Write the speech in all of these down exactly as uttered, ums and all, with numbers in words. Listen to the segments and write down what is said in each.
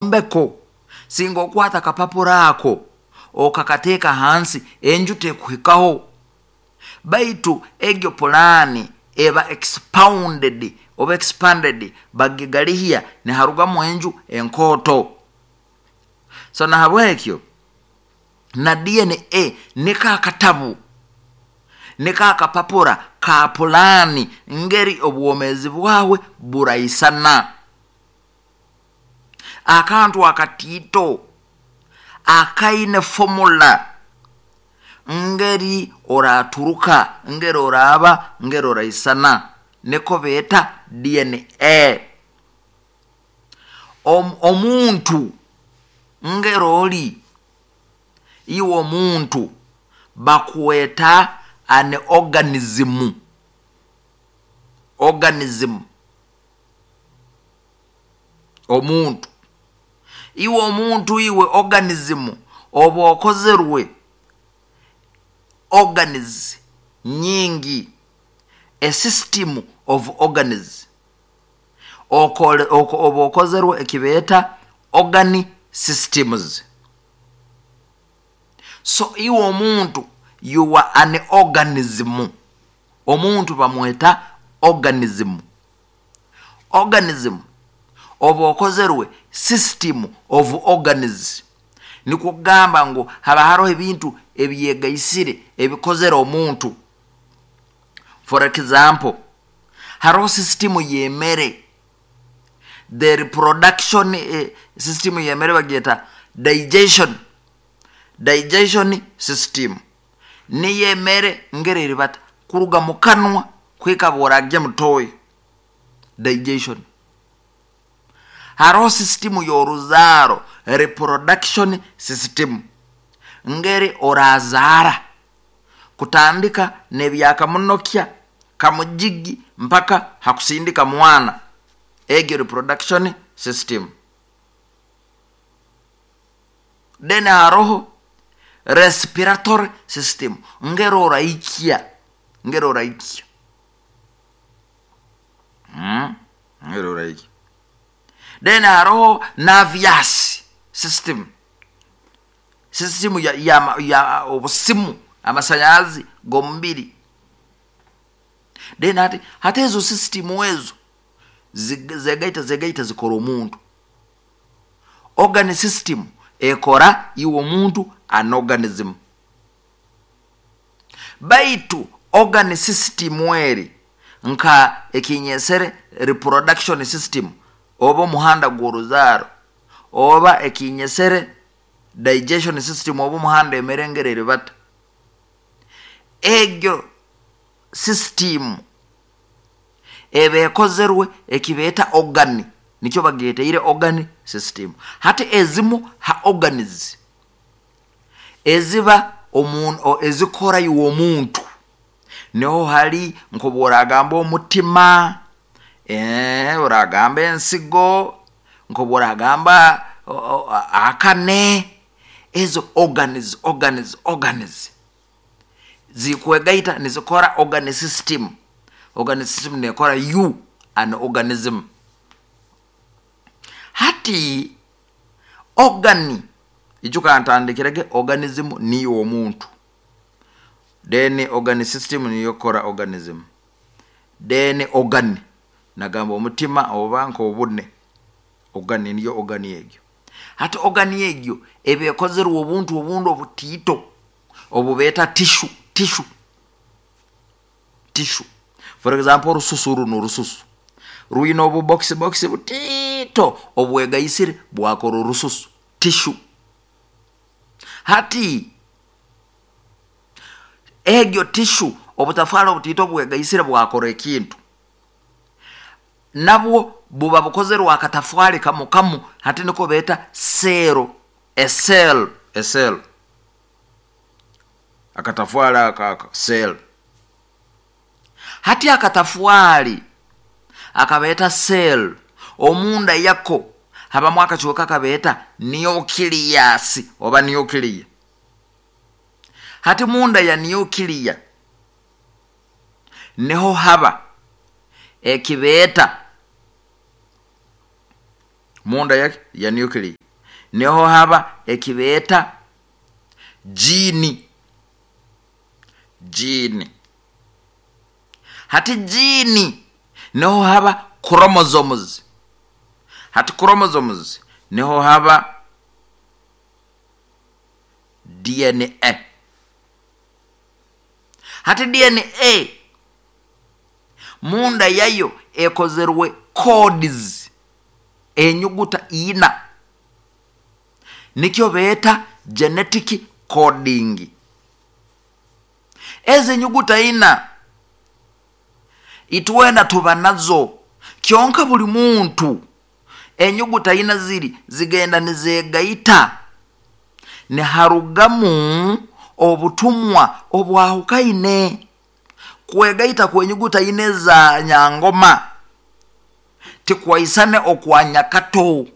Ekyombeko singa okwata akapapura ako okakateeka hansi, enju tekuhikaho. Baitu egyo pulaani eba expounded oba expanded, bagigalihya niharugamu enju enkooto. So nahabwekyo na D N A niko akatabu, niko akapapura ka pulaani ngeri obwomeezi bwawe buraisana. Akantu akatiito akaine formula ngeri oraturuka, ngeri oraaba, ngeri oraisana, niko beeta D N A. Om, omuntu ngeri oli iwe omuntu bakweta an organism. Organism, omuntu, iwe omuntu, iwe organism oba okozerwe organs nyingi, a system of organs. Okole oba okozerwe ekibeeta organ systems. So iwe omuntu, you are an organism. Omuntu bamweta organism. Organism oba okozerwe system of organs, nikwo kugamba ngu haba haroho ebintu ebyegaisire ebikozere omuntu. For example, haroho system y'emere, the reproduction eh, system y'emere bagyeta digestion digestion system. Niyo emere ngeri eribata kuruga mu kanwa kwika bworagya mutoyi, digestion. Haroho system y'oruzaaro, reproduction system, ngeri orazaara kutandika nebyakamunokya kamujigi mpaka hakusindika mwana, egyo reproduction system. Then haroho respiratory system, ngeri oraikya, ngeri oraikya mm? ngeri oraikya. Then haroho nervous system, system ya, ya, ya obusimu, amasanyarazi g'omubiri. Then hati hati ezo system ezo zegaita zegaita zikora omuntu. Organ system ekora iwe omuntu, an organism. Baitu organ system eri nka ekinyesere reproduction system oba omuhanda gw'oruzaaro, oba ekinyesere digestion system oba omuhanda emere ngeri eribata, egyo system eba ekozerwe ekibeeta organ, nikyo bageteire organ system. Hati ezimu ha organs eziba omuntu, ezikora iwe omuntu, niho hari nkobu oragamba omutima, eh, oragamba ensigo, nkobu oragamba akane, ezo organs organs organs zikwegaita nizikora organ system. Organ system nekora you an organism. Hati organ, ijuka ntandikirege organism niyo omuntu, then organ system niyo kora organism, then organ nagamba omutima oba nk'obune, organ niyo organ egyo. Hati organ egyo eba ekozerwe obuntu obundi obutiito obubeeta tissue tissue tissue. For example, orususu runo, orususu rwine obubokisi bokisi butiito obwegaisire bwakora orususu, tissue. Hati egyo tissue, obutafaali obutiito obwegaisire bwakora ekintu, nabwo buba bukozerwe akatafwali kamu kamu, hati niko beeta cell, a cell a cell, akatafwali aka aka cell. Hati akatafwali akabeeta cell, omunda yako habamu akacweka kabeeta nucleus oba nuclear. Hati munda ya nuclear niho haba ekibeeta Munda yake ya nuclei niho haba ekibeeta gene. Gene, hati gene niho haba chromosomes. Hati chromosomes niho haba D N A. Hati D N A munda yayo ekozerwe codes, enyuguta ina, nikyo beeta genetic coding. Ezi enyuguta ina itwena tuba nazo, kyonka buli muntu enyuguta ina ziri zigenda nizegaita, niharugamu obutumwa obwahukaine. Kwegaita kwenyuguta ine za nyangoma tikwaisane okwa nyakato.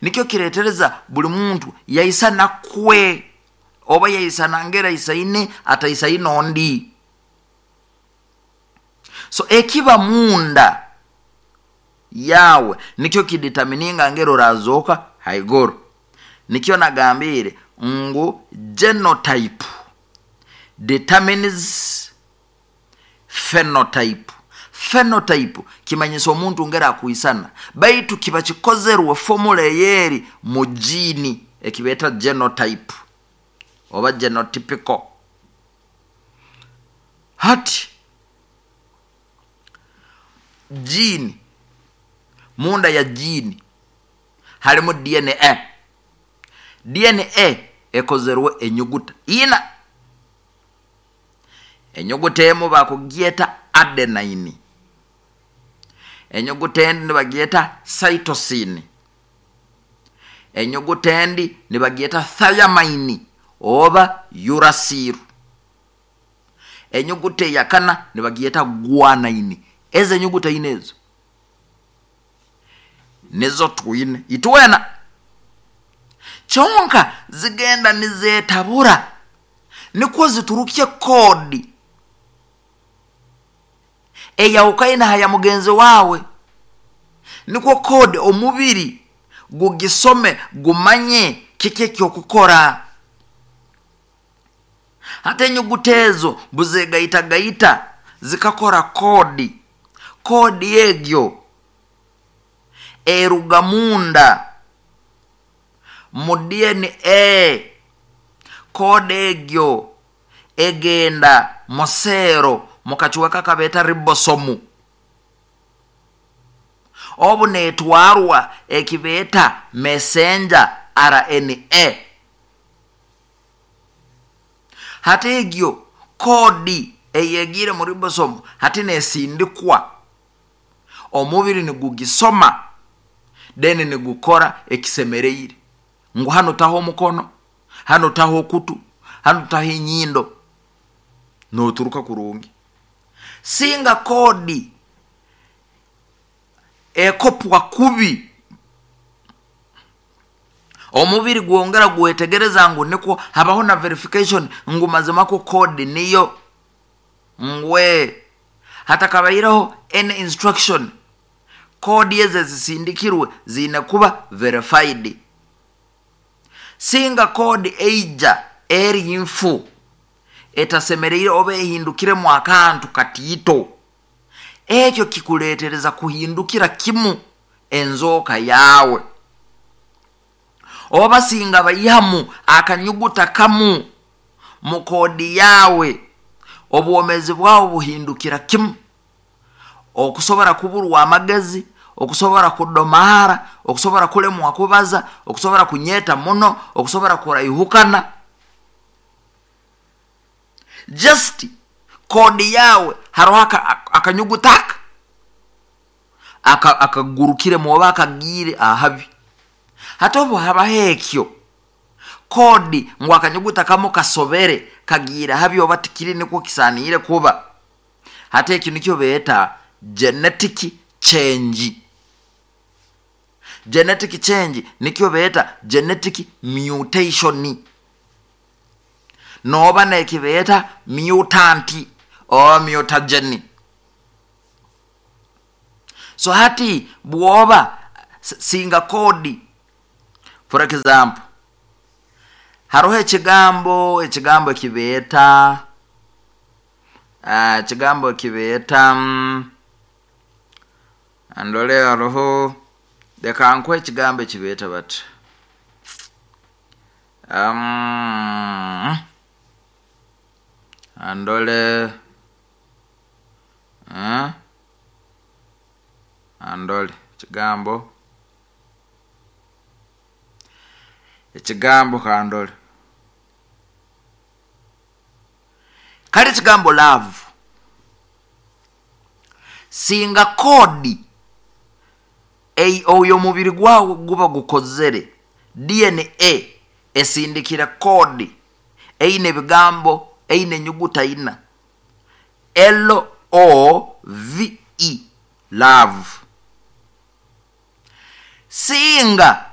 Nikyo kiretereza buli muntu yaisana kwe oba yaisana ngera isaine ataisaine ondi. So ekiba munda yawe nikyo kidetermininga ngero orazoka haiguru. Nikyo nagambire ngu genotype determines phenotype. Phenotype kimanyisa omuntu ngera akuisana, baitu kiba kikozerwe formula eyeri mu gene ekibeeta genotype oba genotypical. Hati gene, munda ya gene harimu D N A. D N A ekozerwe enyuguta ina. Enyuguta emu bakugyeta adenine, enyuguta endi nibagyeta cytosine, enyuguta endi nibagyeta thymine oba uracil, enyuguta eyakana nibagyeta guanine. Ezo enyuguta ina ezo nizo twine itwena, kyonka zigenda nizetabura nikwo ziturukye code eyawukaine haya mugenzi wawe, nikwo code omubiri gugisome gumanye kiki ekyokukora. Hati enyuguta ezo buzegaitagaita zikakora code. Code egyo eruga munda mu D N A. Code egyo egenda museero mukacweka kabeeta ribosome, obu netwarwa ekibeeta messenger R N A. Hati egyo code eyegire mu ribosome hati nesindikwa, omubiri nigugisoma, then nigukora ekisemereire, ngu hano taho omukono, hano taho okutu, hano taho enyindo, noturuka kurungi. Singa code ekopwa kubi, omubiri gwongera gwetegereza ngu nikwo habaho na verification ngu mazima ko code niyo ngwe hatakabaireho any instruction, code ezo zisindikirwe ziine kuba verified. Singa code eija eri nfu, etasemereire, oba ehindukiremu akantu katiito, ekyo kikuletereza kuhindukira kimu enzooka yawe. Oba singa baihamu akanyuguta kamu mu code yawe, obwomezi bwawe buhindukira kimu, okusobora kuburwa amagezi, okusobora kudomahara, okusobora kulemwa kubaza, okusobora kunyeta muno, okusobora kuraihukana. Just code yawe haroho akanyuguta aka akagurukiremu oba akagiire ahabi. Hati obu habaho ekyo code ngu akanyuguta kamu kasobere, kagiire habi, oba tikiri nikwo kisaaniire kuba, hati ekyo nikyo beeta genetic change. Genetic change nikyo beeta genetic mutation, noba nekibeeta mutant oba mutagen. So hati bwoba Singa kodi, for example, haroho ekigambo ekigambo ekibeeta ekigambo ekibeeta mm, ndole, haroho, leka nkuhe ekigambo ekibeeta bati um, andole uh, andole ekigambo ekigambo kandole kale ekigambo love. Singa kodi oyo omubiri gwawe guba gukozere, D N A esindikira kodi eine ebigambo eine enyuguta ina L O V E, love. Singa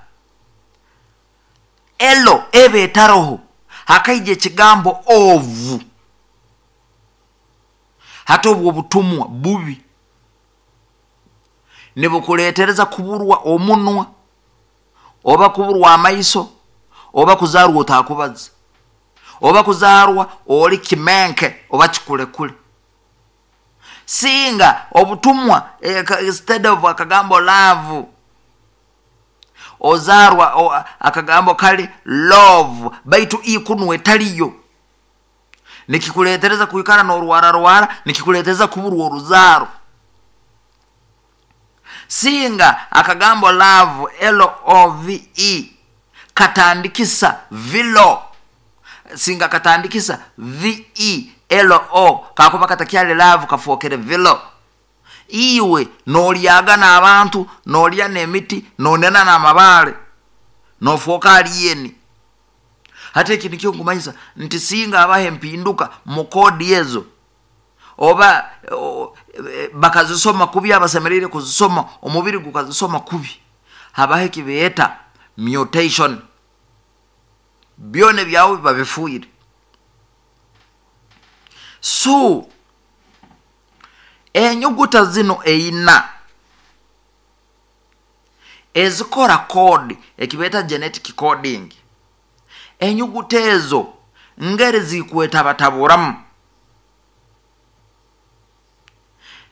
L ebe etaroho hakaija ekigambo ovu, hati obwo obutumwa bubi nibukuleetereza kuburwa omunwa oba kuburwa amaiso oba kuzarwa otakubaza oba kuzarwa oli kimenke oba kikulekule. Singa obutumwa eh, instead of akagambo love ozarwa o, akagambo kali love, baitu ikunwe etaliyo, nikikuleetereza kuikara n'orwara rwara, nikikuleetereza kuburwa oruzaro. Singa akagambo love L O V E katandikisa vilo, singa katandikisa V E L O kakuba katakyali love kafuokere vilo, iwe nolyaga n'abantu, nolya n'emiti, nonena n'amabaale, nofuoka aliyeni. Hati eki nikyo nkumanyisa nti singa abaha empinduka mu kodi ezo oba o, bakazisoma kubi, abasemereire kuzisoma omubiri gukazisoma kubi, habaho ekibeeta mutation, byona byawe biba bifuire. So enyuguta zino eina ezikora kodi ekibeeta genetic coding, enyuguta ezo ngeri zikwetabataburamu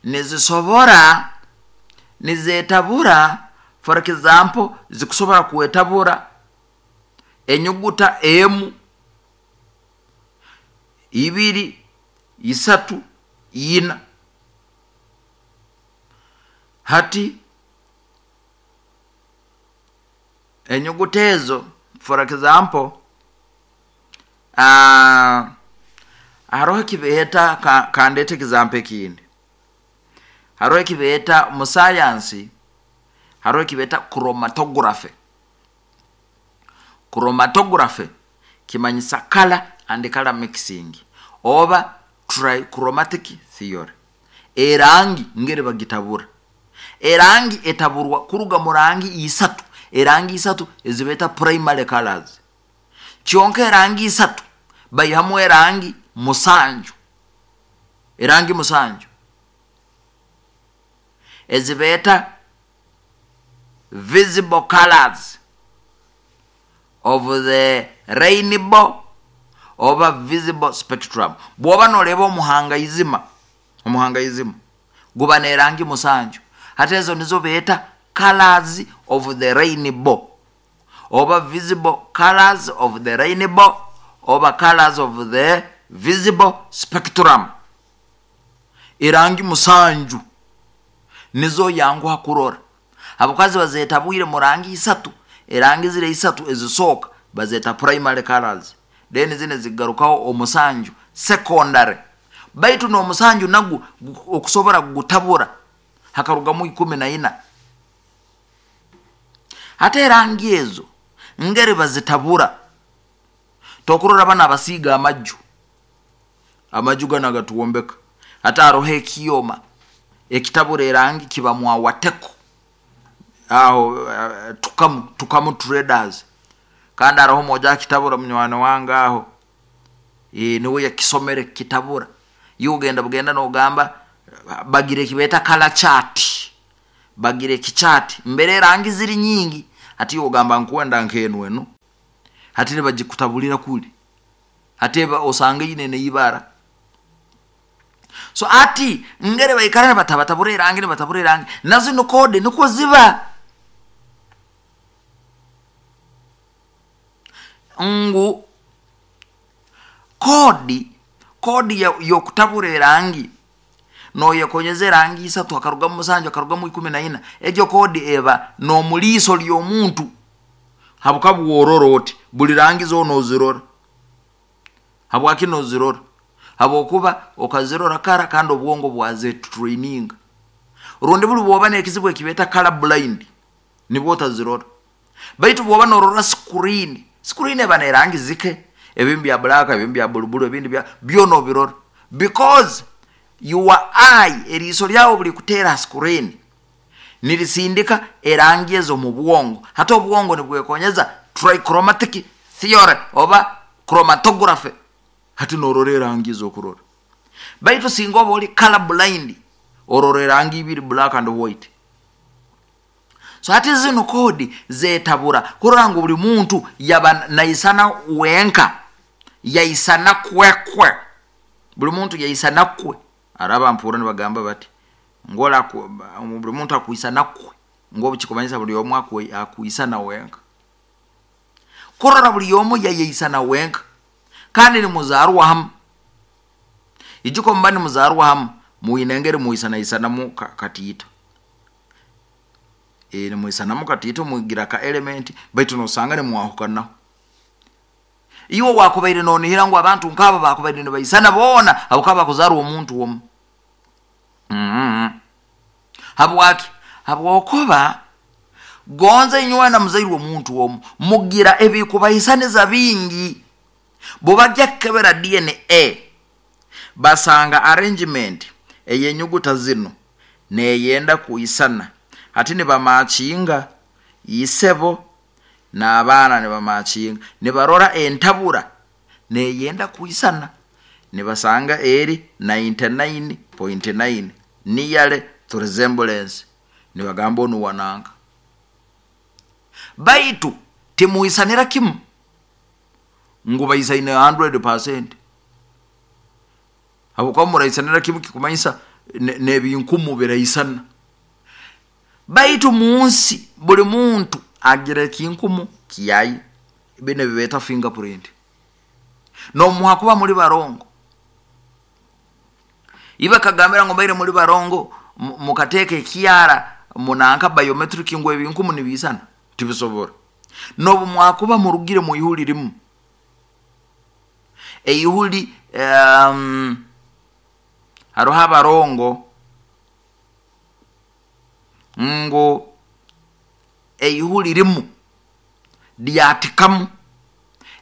nizisobora nizetabura. For example, zikusobora kwetabura enyuguta emu, ibiri, isatu, ina. Hati enyuguta ezo, for example, uh, haroho ekibeeta ka, kandete example ekindi, haroho ekibeeta mu science, haroho ekibeeta chromatography. Chromatography kimanyisa color and color mixing oba trichromatic theory. Erangi ngeri bagitabura, erangi etaburwa kuruga mu rangi isatu, erangi isatu ezibeta primary colors. Kyonka erangi isatu bayihamu erangi musanju, erangi musanju ezibeta visible colors of the rainbow oba visible spectrum. Bwoba noleba omuhanga izima, omuhanga izima guba nerangi musanju, hati ezo nizo beeta colors of the rainbow oba visible colors of the rainbow oba colors of the visible spectrum. Erangi musanju nizo yanguha kurora. Abukazi bazetabwire mu rangi isatu, erangi zire isatu ezisooka bazeta primary colors, then zine zigarukaho omusanju secondary. Baitu n'omusanju nagu okusobora gutabura hakarugamu ikumi na ina. Hata erangi ezo ngeri bazitabura, tokurora bana abasiiga amaju, amaju gano agatuwombeka, hata haroho ekiyoma ekitabura erangi kiba mwawateko aho, uh, tukamu, tukamu traders. Kandi haroho moja kitabura munywani wange aho, e, niwe yakisomere kitabura, yugenda bugenda nogamba bagire kibeta color chart, Bagira ekichati mbere erangi ziri nyingi, hati ogamba nkwenda nk'enu enu, hati nibagikutabulira kuli, hati eba osanga ine neibara. So ati ngere baikara batabatabura erangi, nibatabura erangi, na zino kode nikwo ziba ngu kodi kodi y'okutabura erangi noyekonyeza erangi isatu, akarugamu musanju, akarugamu ikumi na ina. Egyo kodi eba n'omuliiso ly'omuntu, habwokuba bworora oti buli rangi zoona ozirora. Habwaki nozirora? Habwokuba okazirora kara, kandi obwongo bwazetraininga. Rundi buli bwoba n'ekizibu ekibeeta color blind, nibwo otazirora. Baitu bwoba norora screen, screen eba n'erangi zike, ebindi bya black, ebindi bya bulubulu, ebindi bya byona obirora, because your eye, eriiso lyawe buli kuteera screen nirisindika erangi ezo mu bwongo. Hati obwongo nibwekonyeza trichromatic theory oba chromatography, hati norora erangi ezokurora. Baitu singa oba oli color blind, orora erangi ibiri, black and white. So hati zino kodi zetabura kurora ngu buli muntu yaba naisana wenka, yaisana kwekwe, buli muntu yaisana kwe. Araba mpura nibagamba bati ngola buli muntu akuisana kwe, ngo kikumanyisa buli omu akuisana wenka, kurora buli omu yayeisana wenka, kandi nimuzarwa hamu. Ijuko mba nimuzarwa hamu, muinengeri muisanaisanamu katiita, e nimuisanamu katiita, mugira ka element, baitu nosanga nimwahukanaho. Iwe wakubaire nonihira ngu abantu nk'abo bakubaire nibaisana boona, habwokuba bakuzarwa omuntu omu. Mm-hmm. Habwaki? Habwokuba gonza inywe na muzairwe omuntu omu, mugira ebikubaisaniza bingi. Bwebajja kukebera D N A, basanga arrangement ey'enyuguta zino neyenda kuisana. Hati nibamakinga isebo n'abaana nibamakinga, nibarora entabura neyenda kuisana, nibasanga eri ninety-nine point nine nearly to resemblance, nibagamba onu wananga. Baitu timuisanira kimu ngu baisaine hundred percent. Habwokuba muraisanira kimu kikumanyisa n'ebinkumu biraisana. Baitu munsi buli muntu agira ekinkumu kiyayi, bino bibeeta fingerprint. Nomuha kuba muri barongo, iba kagambira ngo mbaire muri barongo, mukateeka ekyara munanka biometric ngo ebinkumu nibisana, tibisobora. Nobu mwakuba murugire mu ihuli rimu, eihuli um, haroho abarongo ngo eihuli rimu lyatikamu,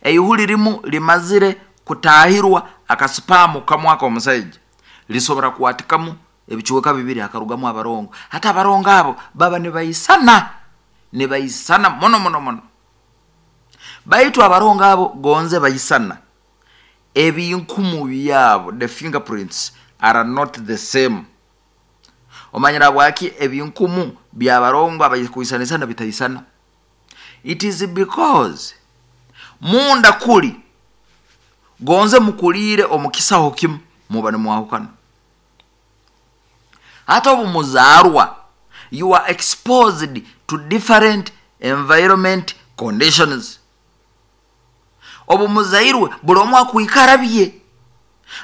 eihuli rimu limazire kutahirwa akasipamu kamwaka omusaija, lisobora kwatikamu ebichweka bibiri akarugamu abarongo. Hata abarongo abo baba nibaisana, nibaisana mono mono mono. Baitu abarongo abo gonze baisana, ebinkumu byabo, the fingerprints are not the same. Omanyira bwaki ebinkumu byabarongo abayikuisanisana bitaisana? It is because munda kuli gonze mukulire omukisaho kimu muba nimwahukana. Hata obu muzarwa, you are exposed to different environment conditions. Obu muzairwe buli omu akuikara bye,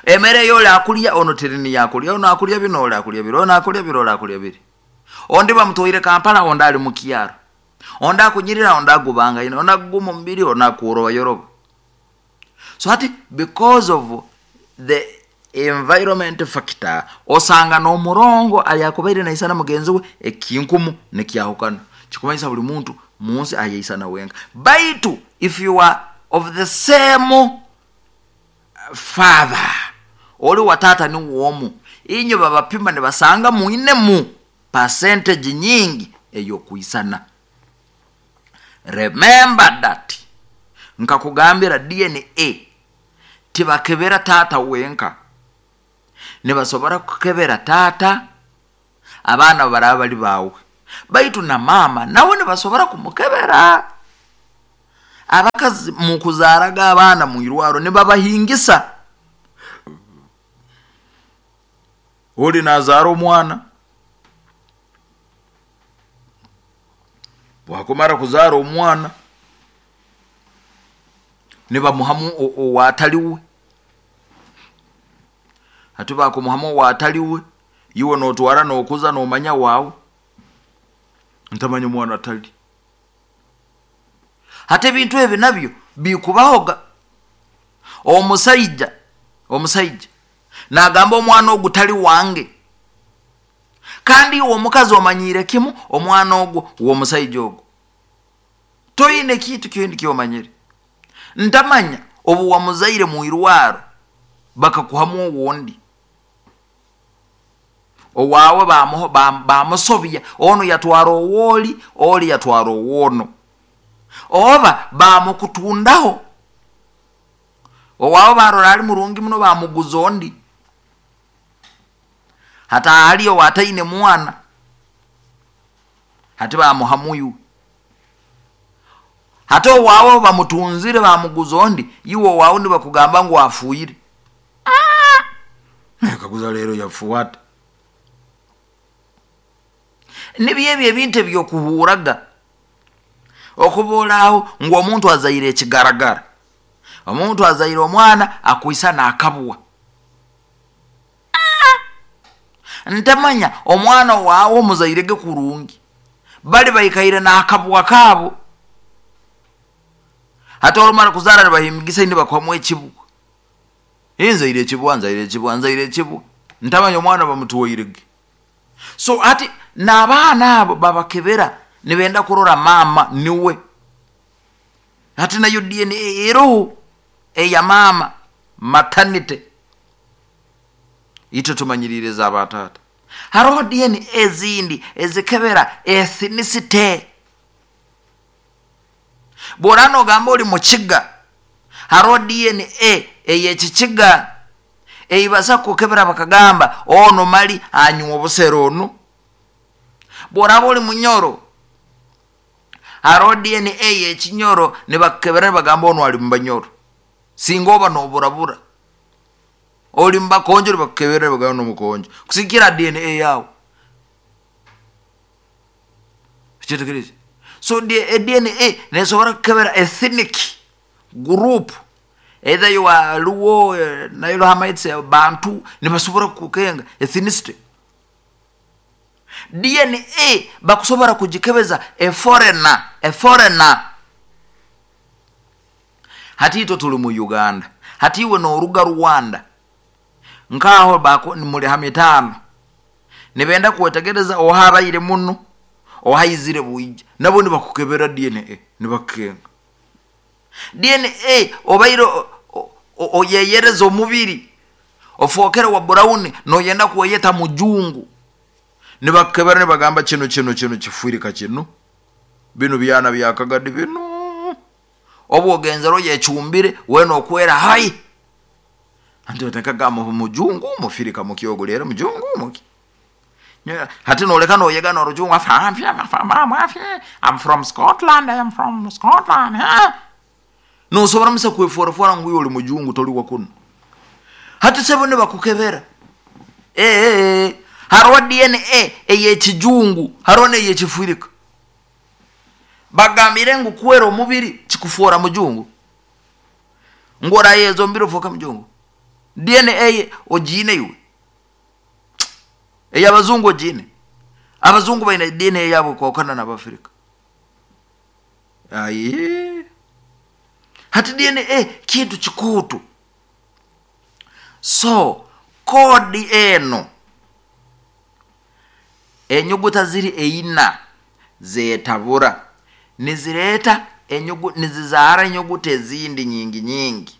emere yole akulya ono terini yakulya, ono akulya bino, ole akulya biro, ono akulya biro, ole akulya biri. Ondi bamutwaire Kampala, ondi ali mu kyaro, ondi akunyirira, ondi agubanga ino, ondi aguma omubiri, ondi akuroba yoroba. So hati because of the environment factor, osanga n'omurongo ayakubaire naisana mugenzi we ekinkumu nekyahukana. Kikumanyisa buli muntu munsi ayaisana wenka. Baitu if you are of the same father, oli watata ni womu, inyo babapima nibasanga muinemu percentage nyingi eyokuisana. Remember that nkakugambira D N A tibakebera tata wenka, nibasobora kukebera tata abaana baraba bali bawe, Baitu na mama nawe nibasobora kumukebera. Abakazi mukuzaaraga abaana mu irwaro nibabahingisa. Oli nazaara omwana, bwakumara kuzaara omwana nibamuhamu owataliwe. Hati bakumuhamu owataliwe, iwe notwara nokuza nomanya wawe ntamanya omwana atali. Hati ebintu ebi nabyo bikubahoga. Omusaija omusaija nagamba omwana ogu tali wange, kandi iwe omukazi omanyire kimu omwana ogwo w'omusaija ogwo, toine kintu kindi kyomanyire. Ntamanya obu wamuzaire mu irwaro bakakuhamu owundi owawe, bamusobya, ono yatwara owoli, oli yatwara owono, oba bamukutundaho owawe barora ali murungi muno bamuguza ondi. Hati hali owataine mwana, hati bamuhamuyu. Hati owawe bamutunzire bamuguza ondi, iwe owawe nibakugamba ngu afuire. Kaguza lero yafuata. Nibyo ebyo ebintu ebyokuhuraga okuboolaho ngu omuntu azaire ekigaragara, omuntu azaire omwana akwisa nakabwa. Ntamanya omwana wawe omuzairege kurungi, bali baikaire nakabwa kaabo. Hati orumara kuzaara nibahimigisa nibakuhamu ekibwa, nzaire ekibwa, nzaire ekibwa, nzaire ekibwa, ntamanya omwana bamutwairege. So hati n'abaana abo babakebera nibenda kurora mama niwe. Hati nayo D N A eroho eya mama maternity, itwe tumanyirire za batata. Haroho D N A ezindi ezikebera ethnicity. Bw'orano ogamba oli mukiga, haroho D N A eyekikiga eibasa kukebera bakagamba ono mali anywa obusero onu. Bw'oraba oli munyoro, haroho D N A yekinyoro nibakebera nibagamba ono ali mubanyoro. Singa oba noburabura oli mubakonjo nibakukebera nibagamba nomukonjo, kusikira D N A yawe. Kitegereze. So D N A nesobora kukebera ethnic group, either you are Luo, Nilo Hamites, Bantu, nibasobora kukenga ethnicity. D N A bakusobora kujikebeza a foreigner, a foreigner. Hati itwe tuli mu Uganda, hati iwe noruga Rwanda, nkaho bako muri hamitano nibenda kuwetegereza ohabaire muno ohaizire buija, nabo nibakukebera D N A nibakenga D N A obaire oyeyereza omubiri ofokere wa brown noyenda kuweyeta mujungu, nibakebera nibagamba kino kino kino kifuirika kino bino byana byakagadi bino obu ogenzero yechumbire weno okwera hai anti otakaga mujungu mufirika mukyogolera mujungu muki. Hati noleka noyega norujungu I'm from Scotland, I am from Scotland. Nosobora musa kweforafora ngu oli mujungu toli wakuno. Hati sebo nibakukebera eh eh haroho D N A eyekijungu, haroho neyekifirika. Bagambire ngu kwera omubiri kikufuora mujungu, ngora yezo mbiro foka mujungu. D N A ogine iwe eyabazungu ogine. Abazungu baina D N A yabo kwakana n'Abafrika. Aye hati D N A kintu kikutu. So kodi eno enyuguta ziri eina zetabura nizireta enyugu nizizara enyuguta ezindi nyingi nyingi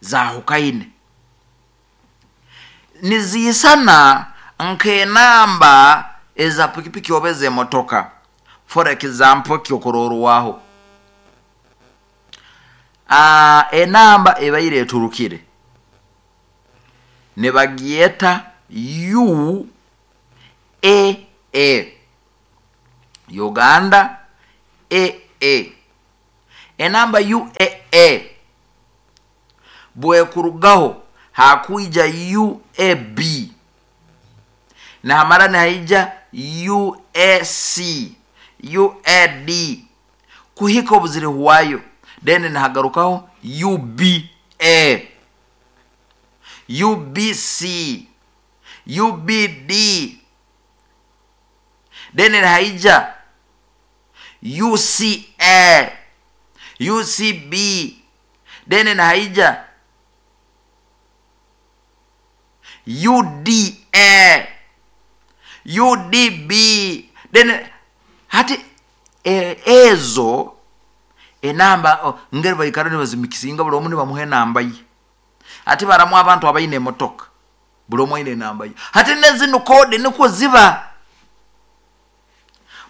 zahukaine, nizisana nkenamba eza pikipiki obeze emotoka. For example kyokororwaho ah enamba ebaire eturukire nebagieta U A A. Uganda A A. Enamba U A A bwekurugaho hakwija U A B, nahamara nihaija U A C, U A D kuhika obuzirihwayo, then nihagarukaho U B A, U B C, U B D, then nihaija U C A, U C B, then nihaija U D A, U D B, then hati ezo enamba oh, ngeri baikara nibazimikisinga buli omu nibamuha enamba ye. Hati baramu abantu abaine emotoka buli omu aine enamba ye. Hati nezinu kodi nikwo ziba,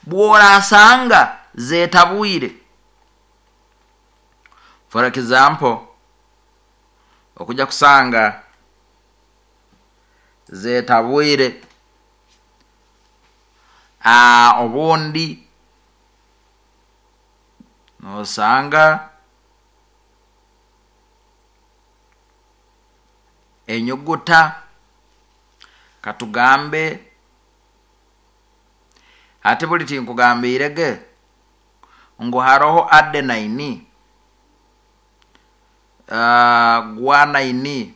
bworasanga zetabwire. For example, okuja kusanga zetabwire ah, obundi nosanga enyuguta katugambe ate buli tinkugambirege ngu haroho adenine, uh, guanine,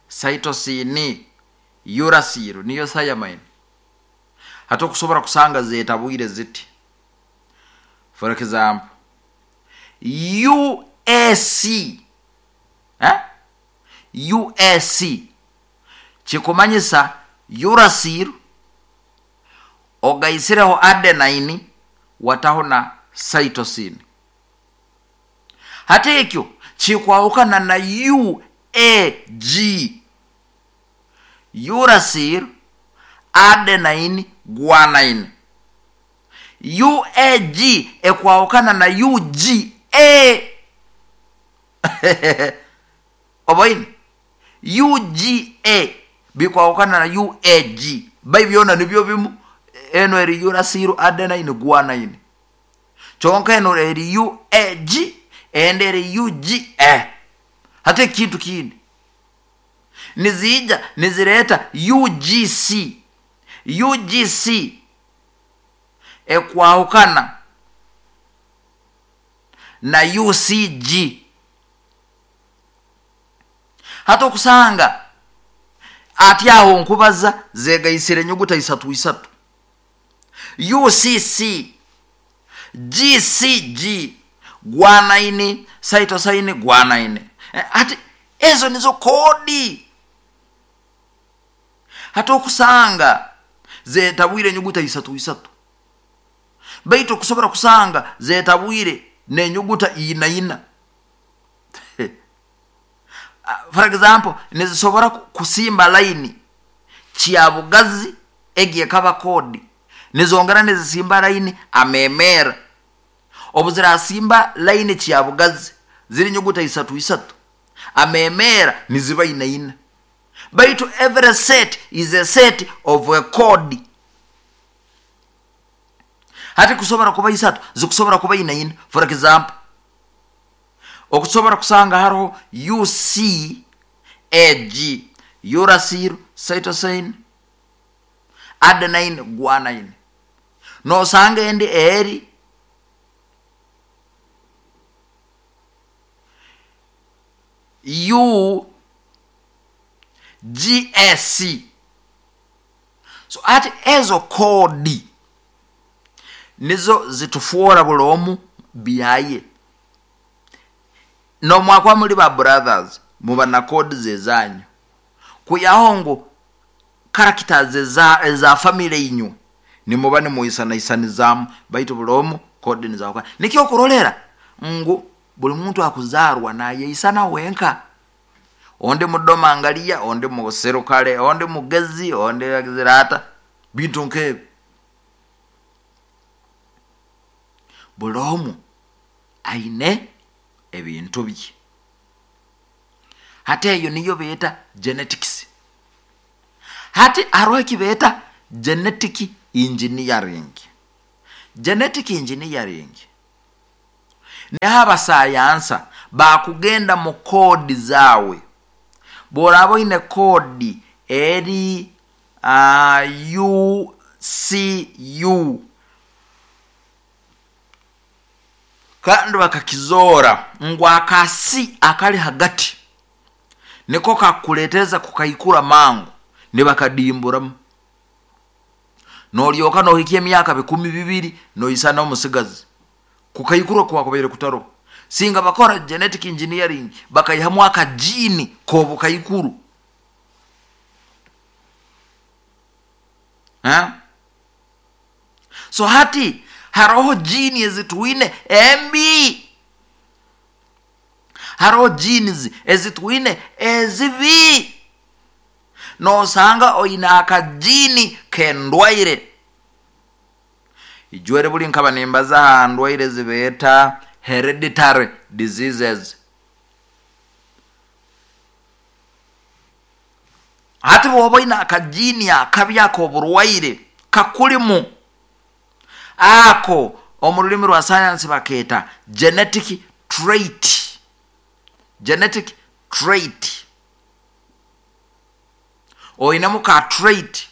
cytosine, uracil niyo thiamine. Hata okusobora kusanga zetabwire ziti. For example, U A C, eh? U A C kikumanyisa uracil ogaisireho adenine wataho na cytosine. Hata ekyo kikwahukana na U A G, uracil adenine guanine. U A G ekwahukana na U G A. Obaini U G A bikwahukana na U A G, bai byona nibyo bimu. Eno eri uracil adenine guanine, kyonka eno eri U A G ende eri U G A. Hata ekintu kindi nizija nizireta U G C. U G C ekwahukana na U C G. Hata okusanga ati aho nkubaza zegaisire enyuguta isatu isatu, U C C, G C G, guanine, cytosine, guanine. Ati ezo nizo kodi. Hata okusanga zetabwire enyuguta isatu isatu, baitu okusobora kusanga zetabwire nenyuguta ina ina. For example, nizisobora kusimba laini kyabugazi egiye kaba kodi, nizongera nizisimba laini amemera. Obuzirasimba laini kyabugazi ziri nyuguta isatu isatu, amemera niziba ina ina. Baitu every set is a set of a code. Hati kusobora kuba isatu zikusobora kuba ina ina. For example, okusobora kusanga hariho U C A G, uracil, cytosine, adenine, guanine. Nosanga endi eri U G S C. So ati ezo kodi nizo zitufuora buli omu byaye. Nomwakwa muli ba brothers muba na kodi zezanyu, kuyaho ngu characters eza, eza family inyu nimuba nimuisanaisanizaamu, baitu buli omu kodi nizawukana. Nikyo okurolera ngu buli muntu akuzarwa nayeisana wenka. Onde mudoma angalia, onde muserukale, onde mugezi, onde agizirata bintu nkebyo. Buli omu aine ebintu bye. Hati eyo niyo beeta genetics. Hati hariho eki beeta genetic engineering. Genetic engineering niho abasayansa bakugenda mu koodi zaawe. Bw'oraaba oine koodi eri uh, U C U, kandi bakakizoora ngu akasi akali hagati niko kakuleeteza kukaikura mangu, nibakadimburamu nolyoka nohikya emyaka bikumi bibiri noisana omusigazi kukaikura kwakubaire kutaro. Singa bakora genetic engineering bakaihamu akajini k'obukaikuru. Ha? So hati haroho jini ezitwine embi, haroho genes ezitwine ezibi. Nosanga oine akajini k'endwaire. Ijwere buli nkaba nimbaza ha ndwaire zibeeta hereditary diseases. Hati bwoba oine akajini akabi ak'oburwaire kakulimu, ako omu rulimi rwa sayansi bakeeta genetic trait. Genetic trait, oinemu ka trait.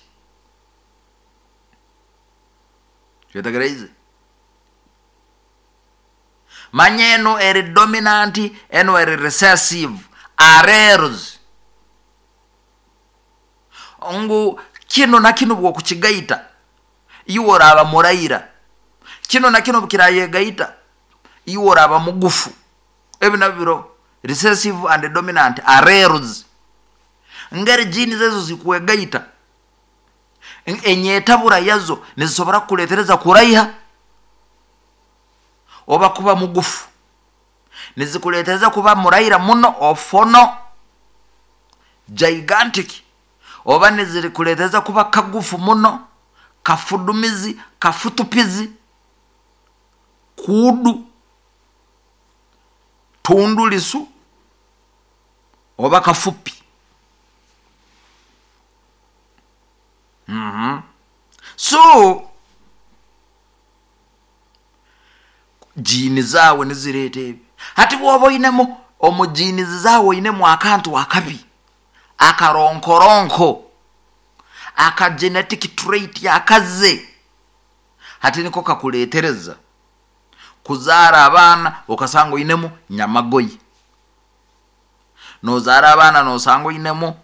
Kyetegereize? Manya eno eri dominant, eno eri recessive alleles, ngu kino na kino bwokukigaita iwe oraba muraira, kino na kino bukirayegaita iwe oraba mugufu. Ebi nabyo recessive and dominant alleles, ngeri genes ezo zikwegaita, enyetabura yazo nizisobora kukuletereza kuraiha oba kuba mugufu, nizikuletereza kuba muraira muno ofono gigantic, oba nizikuletereza kuba kagufu muno kafudumizi kafutupizi kudu tundulisu oba kafupi. Mm-hmm. So jini zawe nizireta ebi. Hati bwoba oinemu omu jini zawe oinemu akantu akabi akaronkoronko aka genetic trait yakaze, hati niko kakuletereza kuzaara abaana okasanga oinemu nyamagoyi, nozaara abaana nosanga oinemu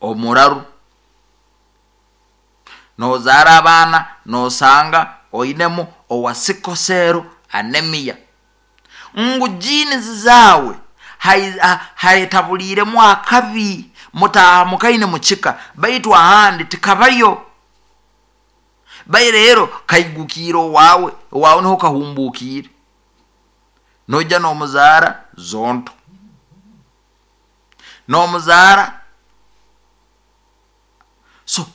omuraru, nozaara abaana nosanga oinemu owasikosero anemia. Ngu genes zawe haetabuliremu akabi mutamukaine mukika, baitu ahandi tikabayo. Bai rero kaigukire owawe, owawe niho kahumbukire, noija n'omuzaara zonto, n'omuzaara. So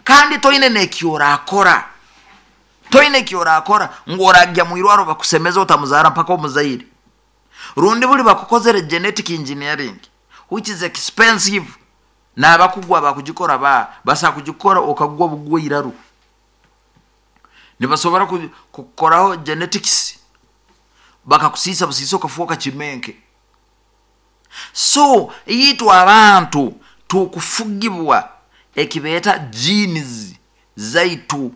kandi toine nekyorakora, toine kyorakora ngu oragya mwirwaro bakusemeza otamuzaara mpaka omuzaire. Rundi buli bakukozere genetic engineering which is expensive, n'abakugwa bakugikora ba basa kugikora okagwa bugwa iraru. Nibasobora kukoraho genetics bakakusisa busisa okafuoka kimenke. So itwe abantu tukufugibwa ekibeta genes zaitu.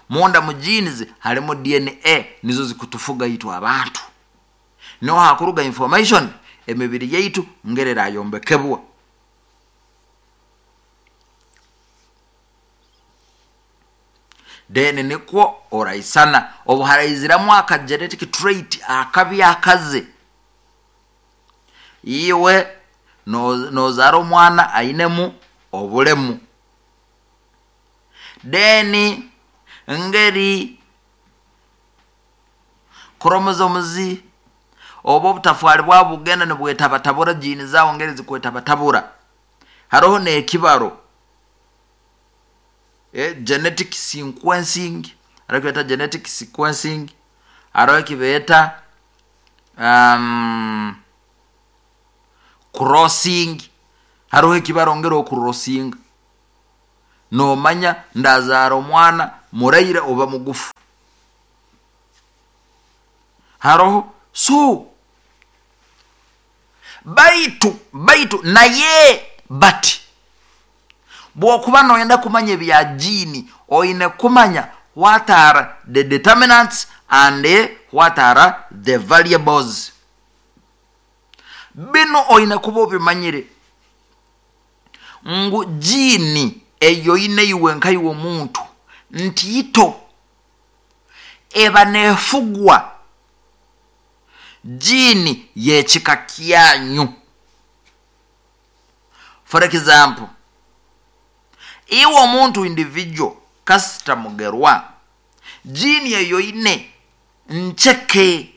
Munda mu genes halimu D N A nizo zikutufuga itwe abantu. Niho hakuruga information emibiri yaitu ngerera yombekebwa. Then nikwo oraisana obuharaiziramu aka genetic trait akabi akaze. Iwe nozara omwana ainemu obulemu. Then ngeri chromosomes obo obutafwali bwabugenda nibwetabatabura jini zao ngeri zikwetabatabura. Haroho n'ekibaro eh, genetic sequencing, haroho ekibeta genetic sequencing, haroho ekibeta um, crossing, Haroho ekibarongera okurosinga, nomanya ndazaara omwana muraire oba mugufu. Haroho so baitu baitu naye bati bwokuba noyenda kumanya ebya gene, oine kumanya what are the determinants and what are the variables. Bino oine kuba obimanyire ngu gene eyo oine iwe nkaiwe omuntu ntiito eba nefugwa gene yekika kyanyu. For example, iwe omuntu individual kasita mugerwa, gene eyo ine ncheke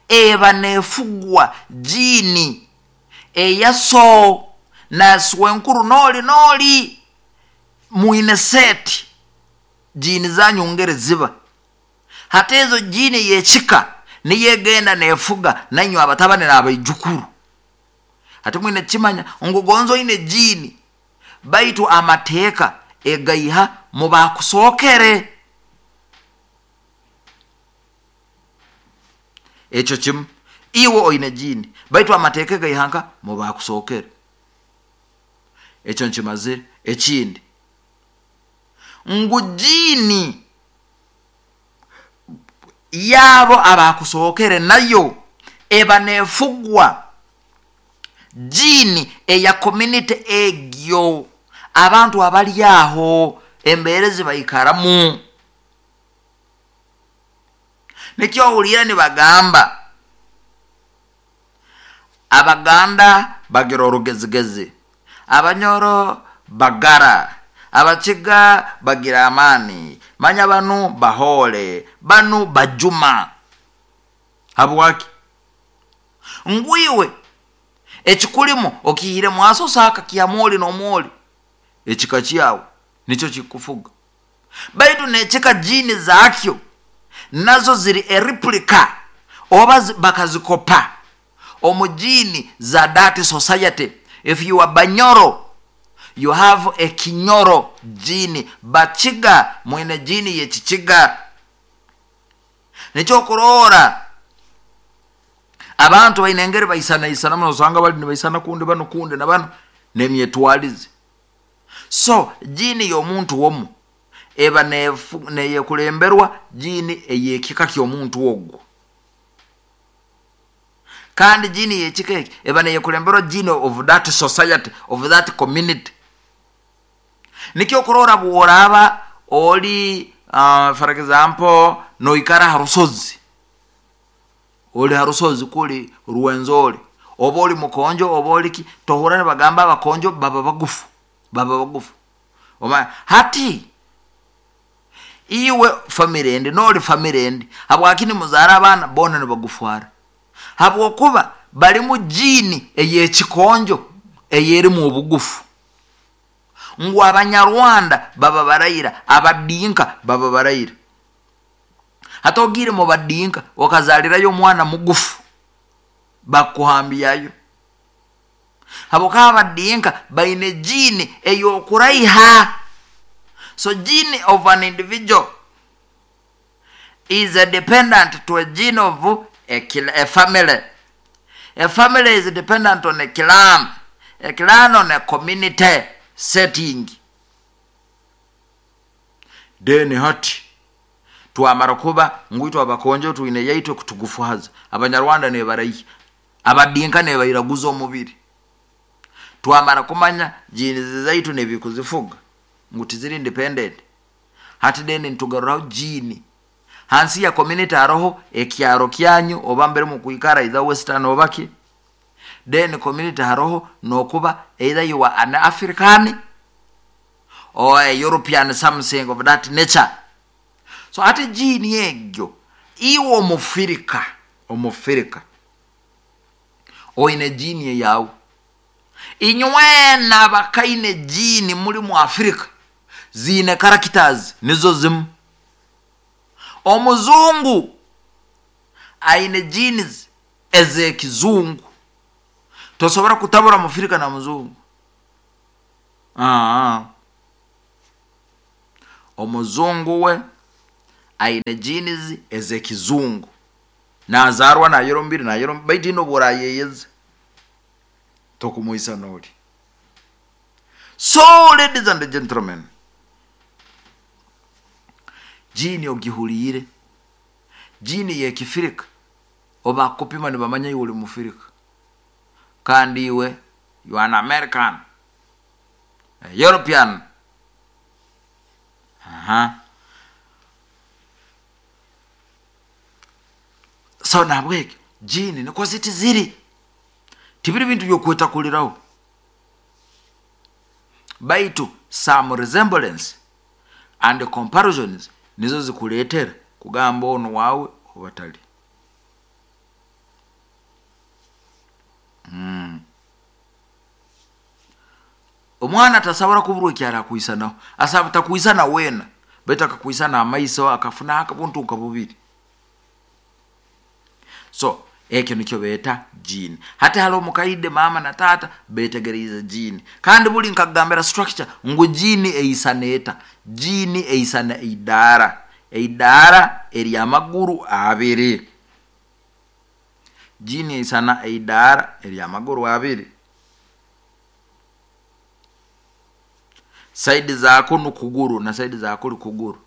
eba nefugwa gene eyaso naswenkuru noli noli mwine seti gene zanyu ngere ziba. Hata ezo gene yekika niyegenda nefuga nanywe abatabani n'abaijukuru. Hati mwine kimanya ngu gonzo ine gene baitu amateeka egaiha mubakusookere. Ekyo kimu, iwe oine gene baitu amateeka egaiha nka mubakusookere. Ekyo nkimazire. Ekindi ngu gene yabo abakusookere nayo eba nefugwa gene eya community egyo, abantu abali aho embeerezi baikaramu. Nikyo owulira nibagamba Abaganda bagira orugezigezi, Abanyoro bagara, Abakiga bagira amani, manya banu bahole, banu bajuma. Habwaki? Ngwiwe ekikulimo okihire mwaso saka kya mwoli n'omwoli, ekika kyawe nikyo kikufuga. Baitu nekika gene zakyo nazo ziri ereplica oba bakazikopa omu gene za that society. If you are Banyoro, you have a Kinyoro gene. Bakiga mwine gene yekikiga. Nikyo kurora abantu baine engeri baisana isana muno, osanga bali nibaisana kundi bano kundi na bano nemyetwalize. So gene y'omuntu womu eba neyekulemberwa gene eyekika ky'omuntu ogwo, kandi gene yekika eki eba neyekulemberwa gene of that society, of that community. Nikyo kurora bworaba oli uh, for example noikara harusozi, oli harusozi kuli Rwenzori, oba oli mukonjo oba oli ki, tohura nibagamba abakonjo baba bagufu, baba bagufu. Oma hati iwe family endi noli family endi, habwaki nimuzara abaana bona nibagufwara? Habwokuba balimu gene eyekikonjo eyerimu obugufu. Ngu Abanyarwanda baba barayira, Abadinka baba barayira. Hata ogire mu badinka okazalirayo omwana mugufu, bakuhambiyayo. Habwokuba Abadinka baine gene eyokuraiha. So gene of an individual is a dependent to a gene of a, a family. A family is dependent on a clan, a clan on a community setting. Then hati twamara kuba ngwitwa abakonjo twine yaitwe kutugufuhaza. Abanyarwanda nebarayi, Abadinka nebayiraguza omubiri. Twamara kumanya gene zaitu nebikuzifuga ngu tiziri independent. Hati then nitugaruraho gene hansi ya community, haroho ekyaro kyanyu oba mbere mukwikara either western oba ki. Then community haroho nokuba either you are an African or a European, something of that nature. So ate gene egyo iwe omufirika, omufirika oine gene yawe. Inywena abakaine gene muri mu Afrika zine characters nizo zimu. Omuzungu aine genes ezekizungu, tosobora kutabura mufirika na muzungu. Aa. Omuzungu we aine genes ez'ekizungu, nazaarwa nayera omubiri, nayera omubiri, baitu ino bworayeyeza tokumwisa noli. So ladies and gentlemen, gene ogihuliire, gene y'ekifirika, obakupima nibamanya iwe oli mufirika, kandi iwe you are an American, a European. Aha. So nabwekyo gene nikwo ziti ziri, tibiri bintu byokwetakuliraho, baitu some resemblance and comparisons nizo zikuleetera kugamba ono waawe obatali. Mm. Omwana tasobora kuburwa ekyara kwisanaho, asaba takwisana wena, baitu akakwisana amaiso, akafuna akabuntu nka bubiri. So ekyo nikyo beeta gene. Hati hali omukaide mama na tata betegereza gene, kandi buli nkagambira structure ngu gene eisana eta, gene eisana eidara, eidara eryamaguru abiri. Gene eisana eidara eryamaguru abiri, saidi zako nukuguru na saidi zako kuguru.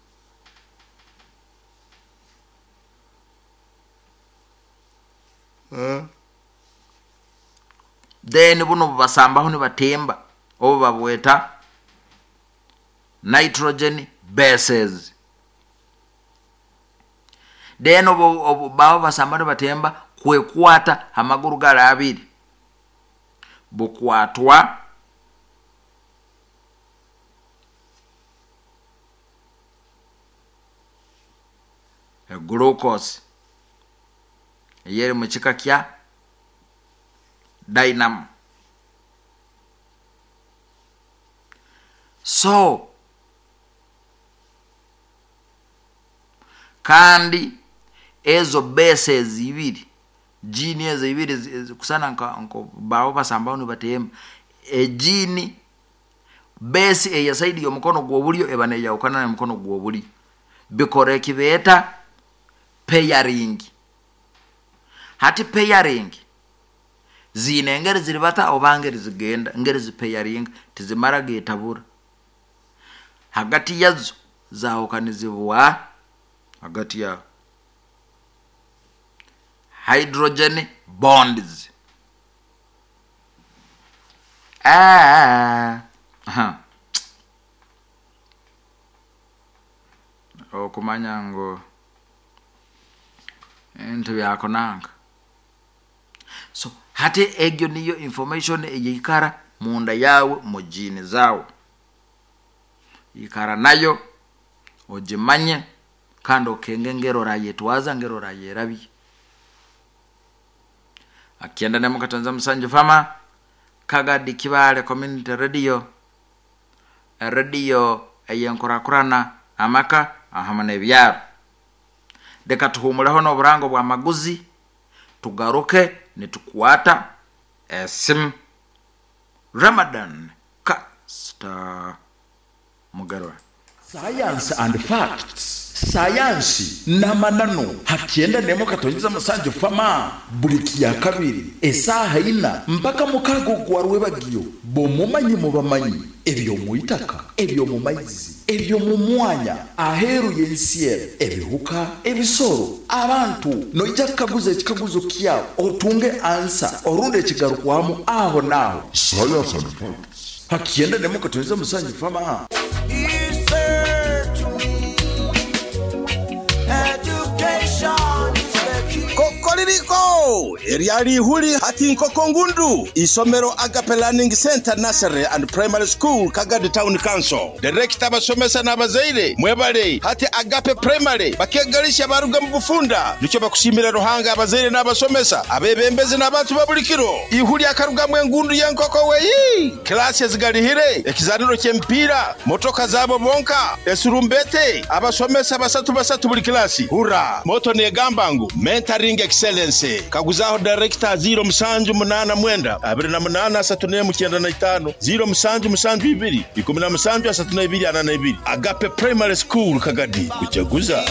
Uh. Then buno basambaho nibatemba obo babweta nitrogen bases. Then obo, obo baba basamba nibatemba kwekwata amaguru gara abiri, bukwatwa glucose eyeri mu kika kya dynamo. So kandi ezo bases ibiri, gene ezo ibiri kusana nka nko bawo basambaho nibatemba, e gene base eya side y'omukono gw'obulyo eba neyawukana n'omukono gw'obulyo, bikora ekibeeta pairing. Hati pairing ziine engeri ziribata oba ngeri zigenda, ngeri zipairing tizimara getabura, hagati yazo zawukanizibwa hagati ya hydrogen bonds. Ah, aha. Okumanya ngo ebintu byakonanga. So hati egyo niyo information eyikara munda yawe mu gene zawe, ikara nayo ogimanye, kandi okenge ngero orayetwaza ngero orayerabye. Akienda ne mukatanza Musanju Fama Kagadi Kibale Community Radio, radio eyenkurakurana amaka ahama n'ebyaro. Reka tuhumuleho n'oburango bwa maguzi, tugaruke nitukwata esimu. Ramadan Kasita Mugarwa. Science and facts, sayansi n'amananu hakyenda nemo katonyiza Musanju Fama buli kya kabiri esaha ina mpaka mukago gwa rwebagiyo. Bomumanyi mubamanyi ebyo muitaka, ebyo mu maizi, ebyo mu mwanya aheru y'ensi, ebihuka, ebisoro, abantu, noija kukaguza ekikaguzo kyawe otunge ansa orunde ekigarukwamu aho naho. Science and facts hakyenda nemo katonyiza Musanju Fama. He said to me, education is the key. Kokoririko eryali ihuli hati nkoko ngundu isomero Agape Learning Center Nursery and Primary School, Kagadi Town Council. Director, abasomesa n'abazaire mwebale. Hati Agape Primary bakegalisha baruga mu bufunda, nicyo bakushimira Ruhanga, abazaire n'abasomesa, abebembezi n'abantu ba buli kiro. Ihuli akarugamwe engundu y'enkoko weyi, klasi ezigalihire, ekizaniro ky'emipiira, motoka zabo bonka, esurumbete, abasomesa basatu basatu buli klasi. Hura motto negamba ngu mentoring excellence. Kaguzaho director ziro musanju munana mwenda abiri na munana asatu n'emu kyenda na itaano ziro musanju musanju ibiri ikumi na musanju asatu na ibiri ana na ibiri. Agape Primary School Kagadi kujaguza.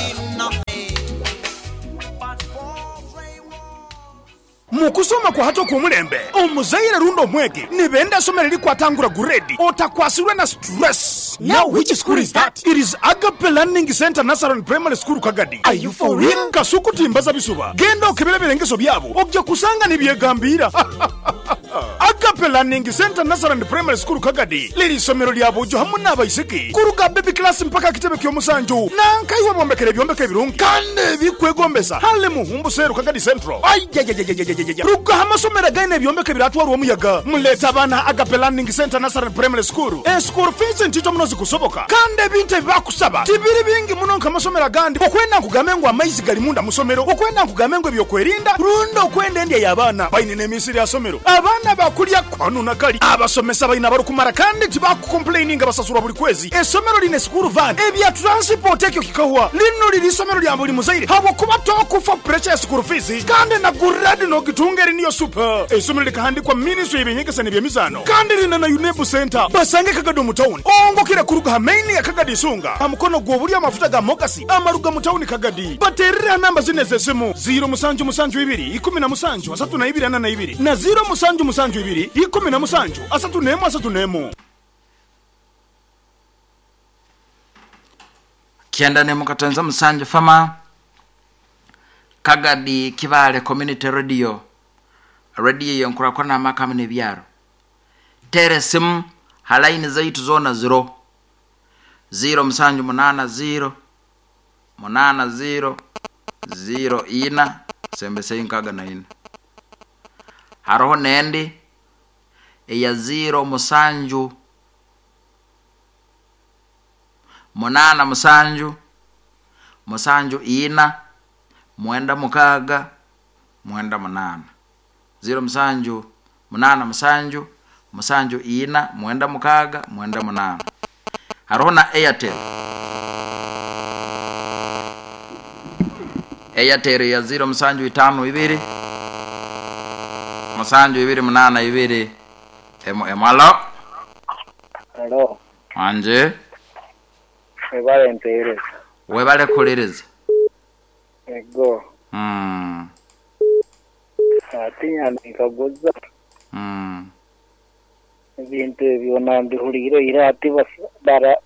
Mukusoma kwa hato kumulembe omuzaire rundo omwege nibenda somero likwatangura grade otakwasirwe na stress. Now which school is that? It is Agape Learning Center Nursery Primary School Kagadi. Are you for real? Kasuku timbaza bisuba genda okebera birengeso byabo ojja kusanga nibyegambira. Agape Learning Center Nursery Primary School Kagadi liri somero lya bujo hamwe n'abaisiki kuruga baby class mpaka kitebe ky'omusanju nankaiwe bombekere byombeke birungi kandi bikwegombesa hale muhumbu seru Kagadi Central. Ayayayayayayaya ruga amasomero gaine byombeke biratwarwa omuyaga muleta abana Agape Learning Center Nursery Primary School. E school fees ntito muno zikusoboka kandi ebintu ebibakusaba tibiri bingi muno nk'amasomero agandi okwenda nkugambe ngu amaizi gali munda musomero okwenda nkugambe ngu ebyokwerinda rundi okwenda endya y'abaana baine n'emisiri ya somero abaana bakulya kwanu na kali abasomesa baina barukumara kandi tibakukomplaininga basasurwa buli kwezi. Esomero line school van ebya transport ekyo kikahwa lino liri isomero lya buli muzaire habwokuba tokufa pressure ya school fees kandi na grade n'ogitunga eri niyo super. Esomero likahandikwa ministry y'ebyenyegesa n'ebyemizaano kandi lina na UNEB center basange Kagadi mu town ongokera kuruga main ya Kagadi isunga amukono gw'obuli amafuta ga mogasi amaruga mu town Kagadi baterera namba zine z'esimu ziro musanju musanju ibiri ikumi na musanju asatu na ibiri ana na ibiri na ziro musanju musanju ibiri ikumi na musanju asatu n'emu asatu n'emu. Kyenda n'emu katonza musanju fama Kagadi Kibale Community Radio radio yenkura n'amaka n'ebyaro tere simu halaini zaitu zona zero zero musanju munana zero munana zero zero ina sembese inkaga na ina haroho nendi eya zero musanju munana musanju musanju ina mwenda mukaga mwenda munana zero musanju munana musanju musanju ina mwenda mukaga mwenda munana. Haroho na Airtel Airtel ya zero musanju itano ibiri musanju ibiri munana ibiri emo emo. Alo alo anje webale mpereza webale kuliriza ego mm atinya nikaguza mm ebintu ebyo nambihulire ira ati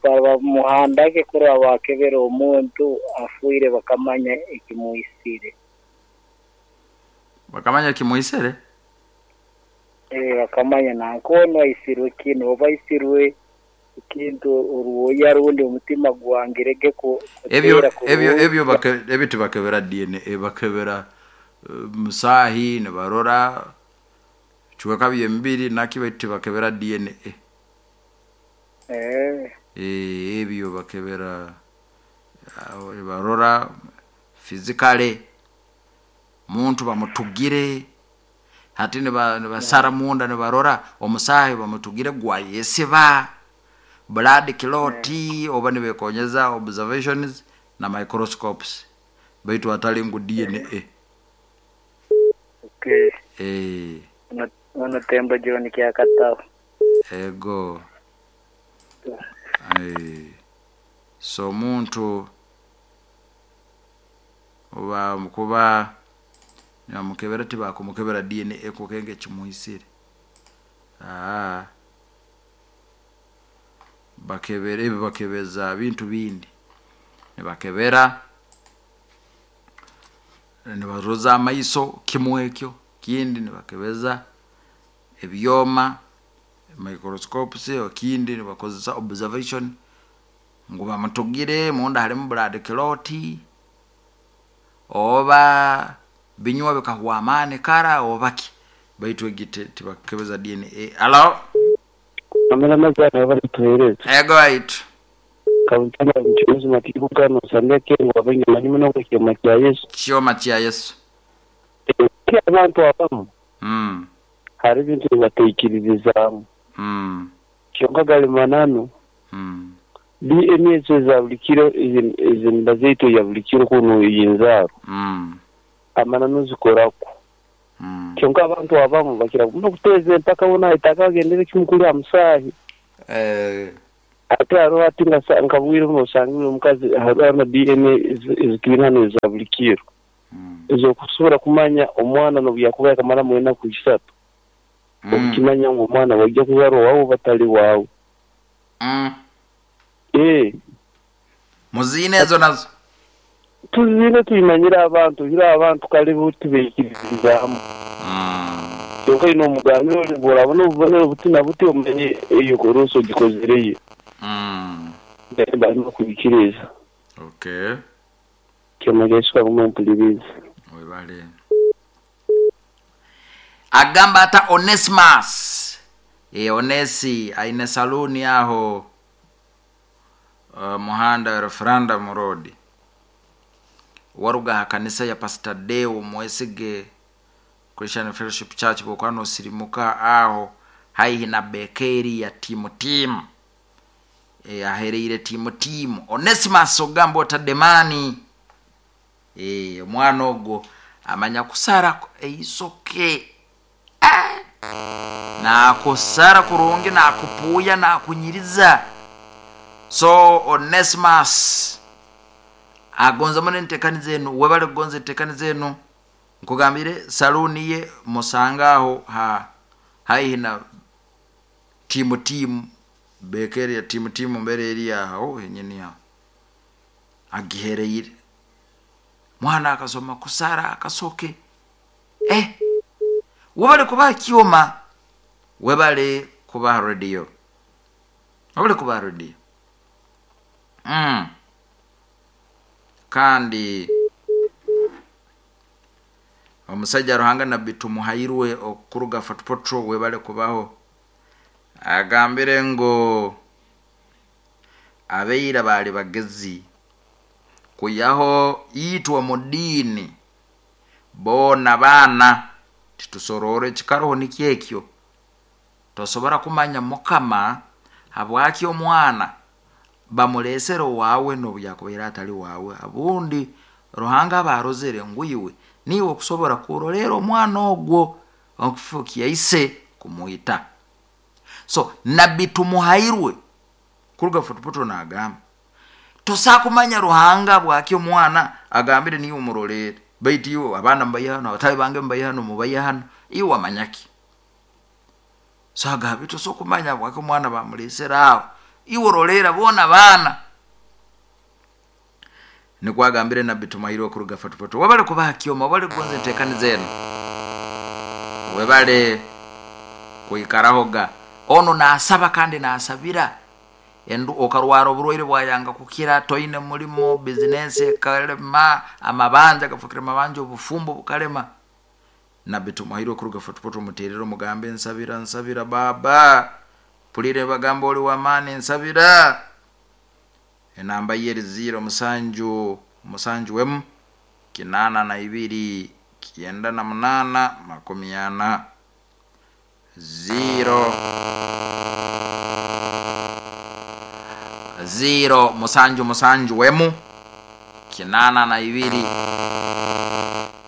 bamuhandake kuraba bakebera omuntu afuire bakamanya ekimuisire bakamanya ekimuisire eh bakamanya nankono aisirwe kino oba aisirwe kintu oruwoya rundi omutima gwangirege ko ebyo ebyo ebyo ebitu bakebera D N A bakebera uh, musahi ne barora chweka byembiri nakibeti bakebera D N A eh eh ebyo bakebera uh, barora physically muntu bamutugire hati ne basara munda ne barora omusahi bamutugire gwayesiba blood clot yeah. Oba nibekonyeza observations na microscopes baitu atali ngu D N A. Okay. Eh ono tembo John kyakatao ego eh so muntu oba mukuba nyamukebera tibakumukebera D N A kukenge kimuisire ah bakebera ebi bakebeza bintu bindi ne bakebera ne baroza amaiso kimwekyo kindi ne bakebeza ebyoma microscopes okindi ne bakozesa observation ngo bamutugire munda halimu blood clot oba binywa bikahwa amane kara obaki baitu egite tibakebeza D N A. Hello amala mazana bari tuhereza ego right kabuntana mchuzi matibuka no sandeke ngo abanye manimo no kyoma kya Yesu kyoma kya Yesu abantu abamu mm hari bintu bateikiriza mm kyonka gali manano mm D N A za bulikiro izi mbazeito ya bulikiro kuno yinzaro mm amanano zikorako Mm. Kyonka abantu abamu bakira muno kuteeza empaka bona itaka bagendere kimu kulya musaahi. Eh, Ate hariho ati nga sa- nka bwire buno osangire omukazi hariho na D N A ezitwine hano eza buli kiro. mm. Ez'okusobora kumanya omwana n'obu yakuba yakamaramu enaku isatu. Mm. Okukimanya ngu omwana waija kuzarwa waawe batali waawe. Mm. Eh, Muziine ezo nazo. Tuzine tuyimanyire abantu, hira abantu kale bo tubeikiririzaamu. Mm. Kyonka ine omugambire oli bw'orabona obubonero buti na buti omanye eyo korosi ogikozereyo. Mm. Barimo kubikiriza. Okay. Kyomageshwa bumwe mpuliriza. Webale. Agamba ata Onesimus. E, Onesi aine saluni aho uh, muhanda referendum road. Waruga ha kanisa ya Pastor Deo Mwesige Christian Fellowship Church bokwano sirimuka aho haihi na bekeri ya timu timu. E, ahereire timu timu. Onesimus ogamba otademani. E, omwana ogwo amanya kusara eisoke. Ah! Nakusara kurungi, nakupuya, nakunyiriza. So Onesimus agonza muno entekani zenu, webale kugonza entekani zenu. Nkugambire saluni ye musanga aho ha haihi na timu timu bekeri ya timu timu mbere eri aho henyini aho agihereire. Mwana akasoma kusara akasoke. Eh, webale kuba kyoma, webale kuba radio, webale kuba radio. Mm. Kandi omusajja Ruhanga Nabbi Tumuhairwe okuruga Fort Portal webale kubaho. Agambire ngo abeira bali bagezi kuyaho itwa mu dini bona bana titusorore kikaroho nikyekyo. Tosobora kumanya Mukama habwaki omwana bamulesere wawe n'obu yakubaire atali wawe. Abundi Ruhanga abarozere ngwiwe niwe okusobora kurolera omwana ogwo okufukia ise kumuita. So Nabbi Tumuhairwe kuruga Fort Portal nagamba tosakumanya Ruhanga bwaki omwana agambire niwe umurolere, baitu iwe abana mbaye hano, abatayi bange mbaye hano, mubaye hano, iwe wamanyaki? So agabe tosokumanya bwaki omwana bamulesera aho, iwe orolera bona bana. Nikwagambire Nabbi Tumuhairwe kuruga Fort Portal. Webale kubaha kyoma, webale kugonza entekani zenu, webale kuikarahoga. Ono nasaba kandi nasabira endu okarwara oburwaire bwayanga kukira, toine mulimo, business ekalema, amabanja gafukira amabanja, obufumbo bukalema. Nabbi Tumuhairwe kuruga Fort Portal muterero mugambe nsabira, nsabira baba, pulire bagamba oli wamaani nsabira. Enamba ye zero musanju musanju wemu kinana na ibiri kienda na munana makumi ana zero zero musanju musanju wemu kinana na ibiri